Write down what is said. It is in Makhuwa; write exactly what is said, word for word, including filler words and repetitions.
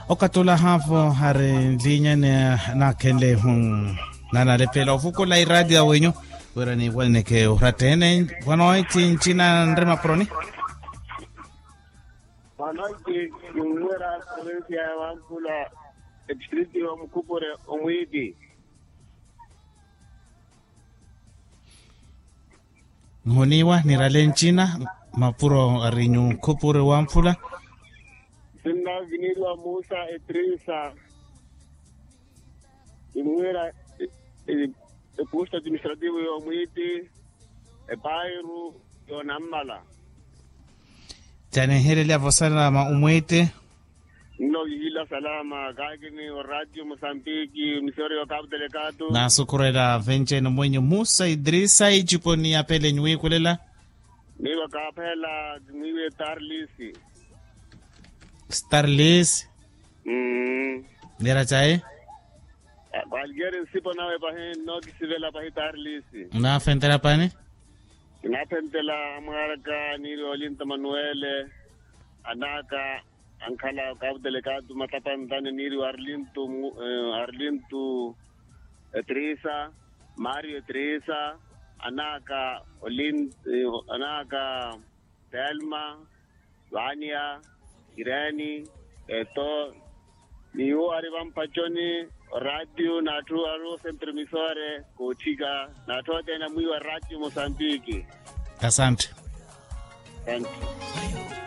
Okatula haavo hari nlinyani, nakhenle hu nanalepela ovukula iraati ya wenyu wira niiwaneneke oratta ene. Vano eti ncina nri mapuroni. Vano eti kinwera provincia ya wampula, etistriti wa mukupure omwiiti. Nhuniwa nirale ncina mapuro arinyu khupuri wamphula. Sinna viniriwa musa etrisa. Imwira epusta administrativo yomwiti epairu yonammala. Taniherelya vosalama umwiti. Nno kihila salama kaakini oradio mosambiki misori yo kapu telekatu. Nasukurela venjeni mwenyu musa idrisa iciponi ya pele nyuwikulela. Niiva kaaphela mwiiwe tarlisi. Starlis. Mmm. Nira cayi. Kwalkeri nsipo nawe pahi nno kisivela pahi tarlisi. Nafentela pani. Kinaphentela amwaraka niiri olinto manuele. Anaka ankhala kapu telekatu matapantani niiri wa arlintu. Arlintu etrisa, mario etrisa, anaka olin anaka telma, vania, ireni, eto. Ni wo ari vampachoni oratiu n'atthu ari osentro emisore koothika n'atthu othene amwiiwa oratiu mosambiki. Asante. Asante.